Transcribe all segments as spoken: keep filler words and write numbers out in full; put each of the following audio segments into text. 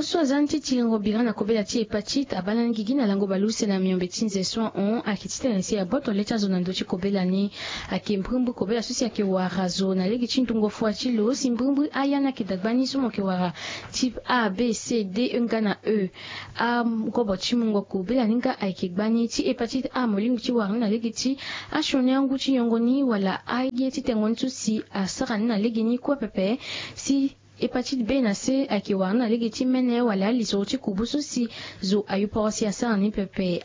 So aza ni ti tiringo bira na kobela ti hépatite abaa lani gigi na lango baleuse na miombe ti nze so ahon ayeke titene si aboto le ti azo na ndö ti kobela ni. Ayeke mbrimbri kobela so si ayeke wara zo na lege ti ndungo fua ti lo si mbrimbri aya ni ayeke dagba ni so mo yeke wara type A, B, C, D, E nga na E. Angobo ti mungo kobela ni nga ayeke gbani ti hépatite A mo lingbi ti wara ni na lege ti asioni angu ti yongo ni wala aye ti tengo ni so si asara ni na lege ni kue pepe. Si hépatite B na C ayeke wara ni na lege ti mene wala alisoro ti kubu so si zo ayo poro si asara ni pepe.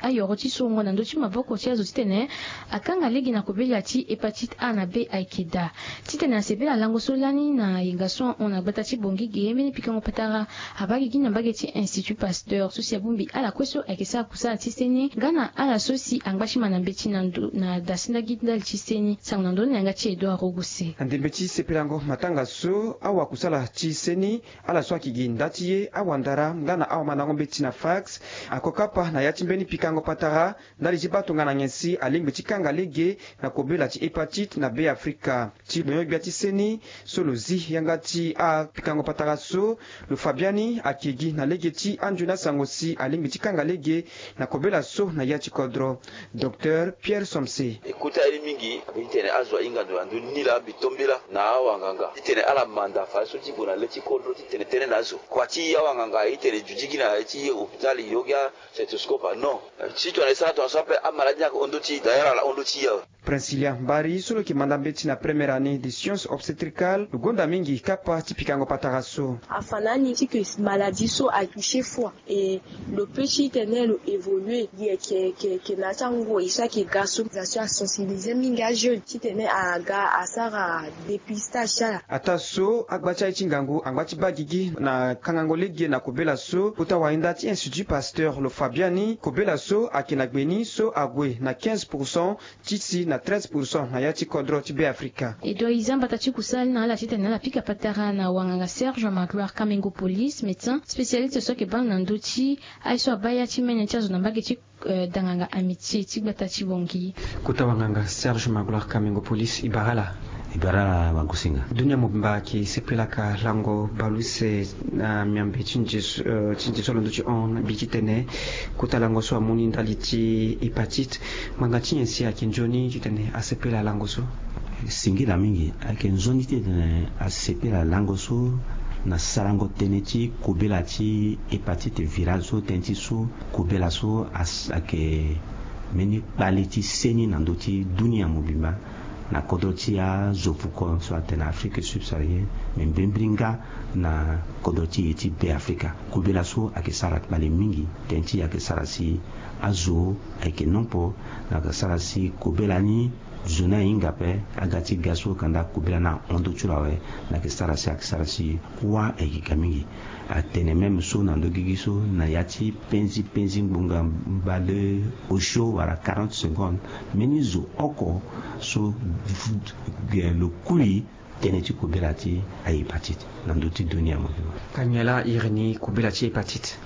Ayoro ti sorongo na ndö ti maboko ti azo titene akanga lege na kobela ti hépatite A na B ayeke daa. Titene asepela lango so lani na yenga so ahon na gbata ti Bangui ge mbeni pikango patara abaa gigi na mbage ti Institut Pasteur so si abongbi ala kue so ayeke sara kusala ti seni nga na ala so si angba ti ma na mbeti na ndo na da si ndagi ndali ti seni. Sango na ndö ni na yanga ti Edouard Rogose. Na ndembe ti sepelango matanga so awakusala ti seni, ala so ayeke gi nda ti ye awandara nga na awamandango mbeti na fax, ako kapa na ya ti mbeni pikango patara ndali ti baa tongana nyen si alingbi ti kanga lege na kobela ti hépatite na Beafrika. Ti lo yongbia ti seni so lo zi yanga ti apikango patara so, lo fa biani ayeke gi na lege ti anzoni asango si alingbi ti kanga lege na kobela so na ya ti kodro. Docteur Pierre Somse. E kota ye ni mingi, a be ti tene azo ahinga ndo na ndö ni laa mbi to mbela na awanganga titene ala manda fadeso ti gue na le ti kodro titene tënë na azo. Kua ti awanganga aye ti tene dudigi na ya ti hôpital yo gi a-stethoscope, ah non. Si tongana e sara tongaso ape, amaladi ni ayeke hon ndö ti e, d'ailleurs ala hon ndö ti e awe. Princilia Mbari so lo yeke manda mbeti na première année de science obstétricale, lo gonda mingi kapa ti pikango patara so. Afa na ni ti ke maladie so atouché foi. Et lo peut ti tene lo évoluer gi ayeke yeke na ya ti angoi so ayeke ga so. Za so asensibiliser mingi ajeune titene aga asara dépistage ti ala. Ataa so agba ti aye ti ngangu angba ti baa gigi na kangango lege na kobela so. Kota wahinda ti Institut Pasteur lo fa biani kobela so ayeke na gbe ni so ague na quinze pour cent ti si na treize pour cent na ya ti kodro ti Beafrika. E dua e za mbata ti kusala ni na ala titene ala pika patara na wanganga Serge Magloire Kamengo Police, médecin spécialiste so ayeke baa na ndö ti aye so abaa ya ti mene ti azo na mbage ti, eh, danganga Amitié ti gbata ti Bangui. Kota wanganga Serge Magloire Kamengo Police, e bara ala. E bara ala wagosinga. Dunia mobimba ayeke sepelaka lango baleuse na miombe ti nze so, eh, ti nze so alondo ti hon na mbi titene kota lango so amu ni ndali ti hépatite. Ngbanga ti nyen si ayeke nzoni titene asepela lango so? Singila mingi, ayeke nzoni titene asepela lango so na sarango tënë ti kobela ti hépatite virale so, tënë ti so kobela so as-, ayeke mbeni kpale ti seni na ndö ti dunia mobimba, na kodro ti azo fuko so atene Afrique subsaharienne, me mbrimbri nga na kodro ti e ti Beafrika. Kobela so ayeke sara kpale mingi, tënë ti e ayeke sara si azo ayeke nompo, na ayeke sara si kobela ni zo ni ahinga ape, aga ti ga so kanda kobela ni ahon ndö ti lo awe, na ayeke sara si ayeke sara si kuâ ayeke ga mingi. Atene même so na ndö gigi so na ya ti penzi penzi ngbonga mbale osio wala quarante secondes, mbeni zo oko so lo kui tënë ti kobela ti ahépatite na ndö ti dunia mobimba. Ka nyen laa iri ni kobela ti hépatite?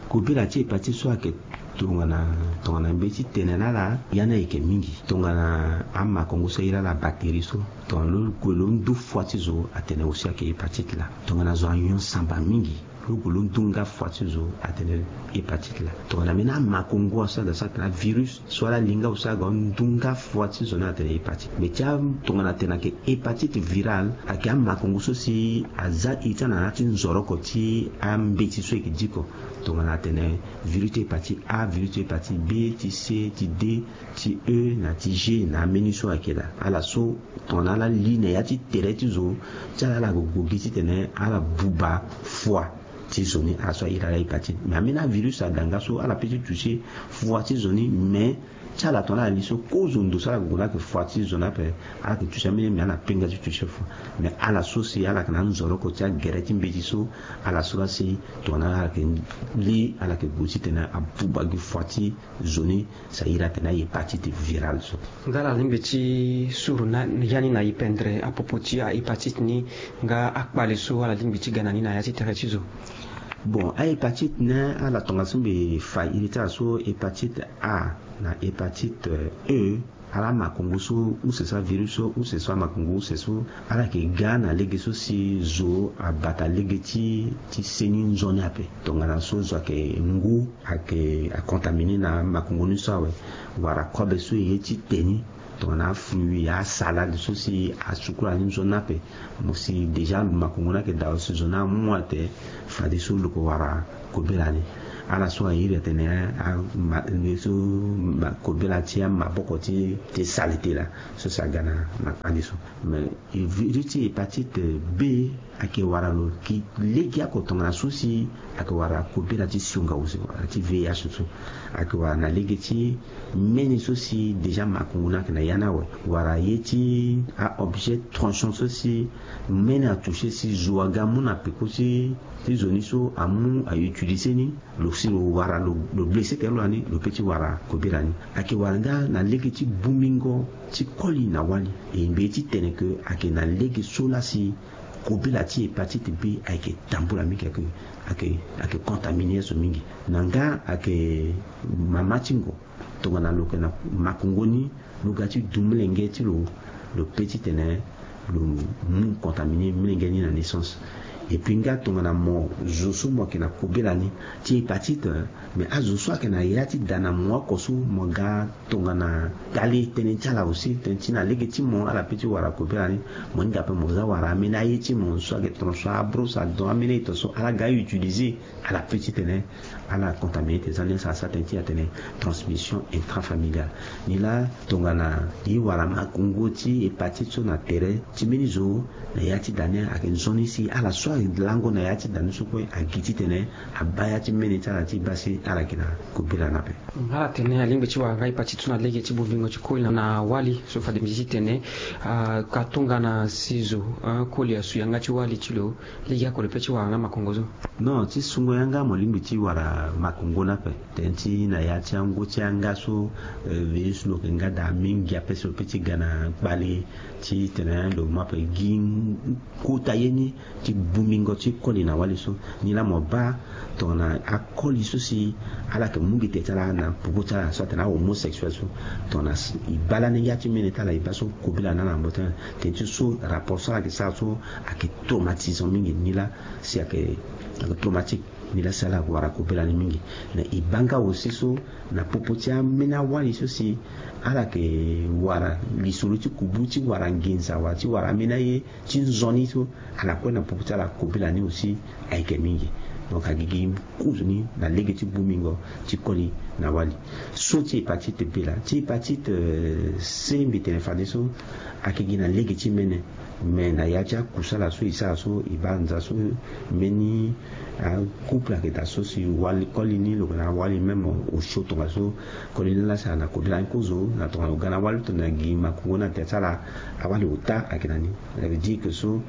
Kobela ti hépatite so ayeke tongana, tongana mbi ti tene na ala, ya ni ayeke mingi. Tongana amakongo so ahiri ala bactérie so, tongana lo gue lo ndu fua ti zo, atene aussi ayeke hépatite laa. Tongana zo anyon samba mingi, lo gue lo ndu nga fua ti zo, atene hépatite laa. Tongana mbeni amakongo so ada so atene avirus so ala li nga aussi aga ndu nga fua ti zo ni, atene hépatite. Me ti a, tongana atene ayeke hépatite virale, ayeke amakongo so si aza iri ti ala na ya ti nzoroko ti ambeti so e yeke diko. Tongana atene virus ti hépatite A, virus ti hépatite B, ti C, ti D, ti E, na ti G, na ambeni so ayeke daa. Ala so tongana ala li na ya ti tere ti zo, ti ala ala gue gi titene ala buba fua ti zo ni, ala so ahiri ala hépatite. Me ambeni avirus ada nga so ala peut ti toucher fua ti zo ni, me ti ala tongana ala li so kozo ndo so ala gue na ayeke fua ti zo ni ape, ala yeke toucher ambeni, me ala penga ti toucher fua. Me ala so si ala yeke na anzoroko ti agere ti mbeti so, ala so laa si tongana ala yeke li, ala yeke gue titene abuba gi fua ti zo ni, si ahiri atene ahépatite virale so. Nga ala lingbi ti suru na ya ni na ipendre apopo ti ahépatite ni, nga akpale so ala lingbi ti ga na ni na ya ti tere ti zo? Bon, ahépatite ni ala tongaso mbi fa iri ti ala so, hépatite A na hépatite E, Ala makongo so use so, avirus so use so, amakongo use so, ala yeke ga na lege so si zo abata lege ti ti seni nzoni ape. Tongana so zo ayeke ngu, ayeke acontamine na makongo ni so awe, wala kobe so e ye ti te ni, tongana afruit, asalade so si asukula ni nzoni ape, mo si déjà makongo ni ayeke daa, si zo ni amu ate, fadeso lo yeke wara kobela ni. Ala so airi atene, a, ma, ni so ma, kobela ti amaboko ti, ti saleté laa, so si aga na, na kpale so. Mais e viri ti hépatite B ayeke wara lo ki legeoko tongana so si ayeke wara kobela ti sionga use, wala ti V I H so. Ayeke wara na lege ti mene so si déjà makongo ni ayeke na ya ni awe, wala ye ti a-objet tranchant so si mene atouché si zo aga amu na peko ti, ti zo ni so amu a-utiliser ni, lo si lo wara, lo, lo blessé tene lo lani, lo peut ti wara kobela ni. Ayeke wara nga na lege ti bumingo ti koli na wali. E ngbe ti tene ke ayeke na lege so laa si kobela ti hépatite B ayeke tambula mingi, ayeke, ayeke, ayeke contaminer so mingi. Na nga ayeke mama ti ngo, tongana lo yeke na makongo ni, lo ga ti du molenge ti lo, lo peut ti tene lo mu contaminer molenge ni na naissance. Et puis nga tongana mo zo so mo yeke na kobela ni ti hépatite, mais azo so ayeke na ya ti da na mo oko so mo ga tongana kpale tënë ti ala aussi, tënë ti na lege ti mo ala peut ti wara kobela ni. Mo hinga ape mo za wara amene aye ti mo so ayeke tongaso abrosse adent, amene aye tongaso ala ga utiliser, ala peut ti tene ala contaminer tes amis, ala sara tënë ti atene transmission intrafamiliale. Nilaa tongana e wara makongo ti hépatite so na tere ti mbeni zo, na ya ti da ni ayeke nzoni si ala so alango na ya ti da ni so kue agi titene abaa ya ti mene ti ala ti baa si ala yeke na kobela ni ape. Ala tene alingbi ti wara nga hépatite so na lege ti bumingo ti koli na, na wali so fade mbi ti tene, ah, ka tongana si zo, ah, koli asu yanga ti wali ti lo, legeoko lo peut ti wara nga makongo so? Non, ti sungo yanga mo lingbi ti wara makongo ni ape. Tënë ti na ya ti angu ti yanga so, eh, virus lo yeke nga daa mingi ape so lo peut ti ga na kpale titene lo mu ape gi kota ye ni ti bumingo ti koli na wali so. Nilaa mo baa tongana akoli so si ala yeke mu gi te ti ala na popo ti ala so atene ahomosexuel so, tongana e baa lani ya ti mene ti ala e baa so kobela na ala na mbote. Tënë ti so rapport so ala yeke sara so ayeke traumatisant mingi. Nilaa si ayeke, ayeke traumatique. Nilaa si ala wara kobela ni mingi. Na e baa nga aussi so na popo ti amene awali so si ala yeke wara lisoro ti kubu ti wara nginza wala ti wara amene aye ti nzoni so ala kue na popo ti ala kobela ni aussi ayeke mingi. Donc agigi kozoni na lege ti bumingo ti koli na wali. So ti hépatite B laa, ti hépatite, euh, C mbi tene fadeso ayeke gi na lege ti mene. Mais na ya ti akusala so e sara so e baa nza so mbeni, ah, couple ayeke daa so si wali koli ni lo yeke na wali même osio tongaso koli ni laa si ala na kobela ni kozo na tongana lo ga na wali tongana gi makongo ni na tere ti ala, awali ota ayeke na ni. Ça veut dire que so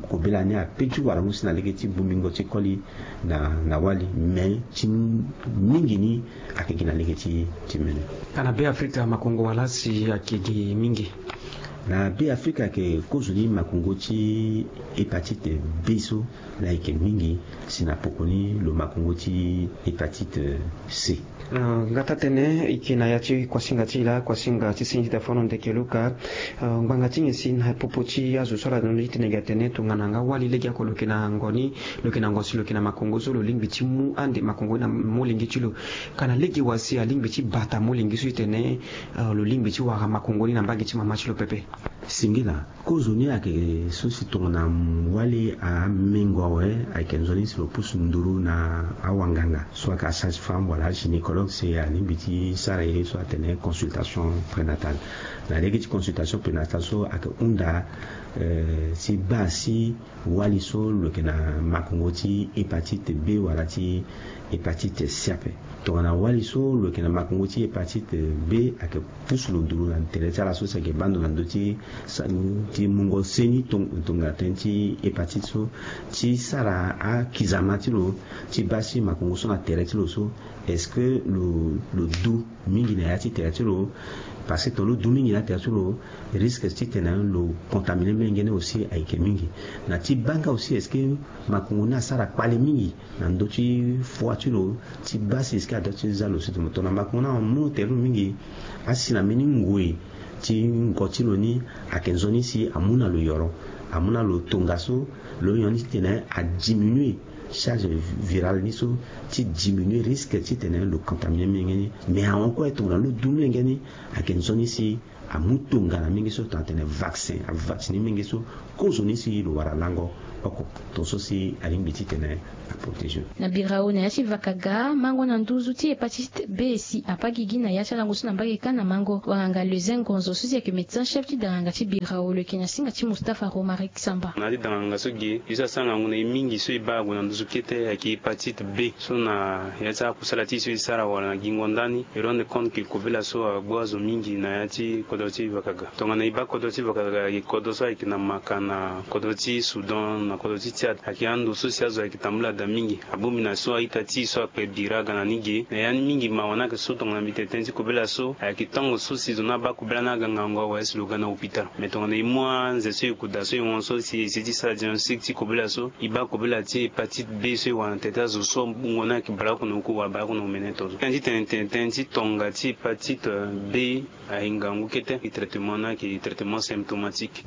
kobela ni ape ti wara mu si na lege ti bumingo ti koli na, na wali, mais ti mingi ni ayeke gi na lege ti, ti mene. Ka na Be Afrika makongo wala si ayeke gi mingi? Na Be Afrika ayeke kozoni makongo ti hépatite B so laa ayeke mingi si na poko ni lo makongo ti hépatite C. Ah, nga taa tënë e yeke na ya ti kuasinga ti e laa, kuasinga ti seni ti dafono ndeke luka. Ah, ngbanga ti nyen si na popo ti azo so ala londo ti tene gi atene tongana nga wali legeoko lo yeke na ngoni, lo yeke na ngo si lo yeke na makongo so lo lingbi ti mu ande makongo ni na molenge ti lo? Ka na lege wa si alingbi ti bata molenge so ti tene, ah, lo lingbi ti wara makongo ni na mbage ti mama ti lo pepe? Singila, kozoni ayeke so si tongana wali amengo awe, ayeke nzoni si lo pusu nduru na awanganga so ayeke asage-femme wala agynécologue si alingbi ti sara ye so atene consultation prénatale. Na lege ti consultation prénatale so ayeke hunda, eh, ti baa si wali so lo yeke na makongo ti hépatite B wala ti hépatite C ape. Tongana wali so lo yeke na makongo ti hépatite B ayeke pusu lo nduru na tere ti ala so si ayeke baa ndo na ndö ti sa-, ti mungo seni tong-, tongana tënë ti hépatite so, ti sara akizama ti lo ti baa si makongo so na tere ti lo so, est-ce que lo, lo du mingi na ya ti tere ti lo? Parce que tongana lo du mingi na ya ti tere ti lo, risque titene lo contaminer Lenge ni aussi ayeke mingi. Na ti baa nga aussi est-ce que makongo ni asara kpale mingi na ndö ti foi ti lo ti baa si est-ce que adoit ti za lo si tomo tongana makongo ni amu tere lo mingi. Asi na mbeni ngoi ti ngo ti lo ni ayeke nzoni si amu na lo yoro, amu na lo tongaso, lo yoni titene adiminuer charge virale ni so, ti diminuer risque titene lo contaminer mingi ni. Mais ahon kue tongana lo du mingi ni ayeke nzoni si amu tongana mingi so tongana tene vaccin avacciner mingi so, kozoni si lo wara lango oko. Tongaso si alingbi titene aprotégé. Na birao na ya ti vakaga mango na nduzu ti hépatite B si apa gigi na ya ti alango so na mbage kâ na mango wanganga leusin ngonzo so si ayeke médecin chef ti danganga ti birao lo yeke na singa ti mustapha romaric samba. Na ya ti danganga so ge ye so asara ngangu na ye mingi so e baa ague na nduzu kete ayeke hépatite B so na ya ti akusala ti e so e sara wala na gingo ndani e rendre compte ke kobela so agbu azo mingi na ya ti kodro ti vakaga. Tongana e baa kodro ti vakaga ayeke kodro so ayeke na maka na kodro ti soudan na kodro ti tiade ayeke ando so si azo ayeke tambula daa mingi. Abongbi na so a-ita ti e so akpe bira aga na ni ge na ya ni mingi mawa ni ayeke so tongana mbi tene tënë ti kobela so ayeke tango so si zo ni abaa kobela ni aga ngangu awe si lo ga na hôpital. Mais tongana e mu anze so e kuda so e hon so si e si ti sara diagnostic ti kobela so e baa kobela ti hépatite B so e wara na tete azo so wungo ni ayeke baleoko na oku wala baleoko na omene to so. Tënë ti tene tene tënë ti tonga ti hépatite B ayeke ngangu kete. Traitement ni ayeke traitement symptomatique.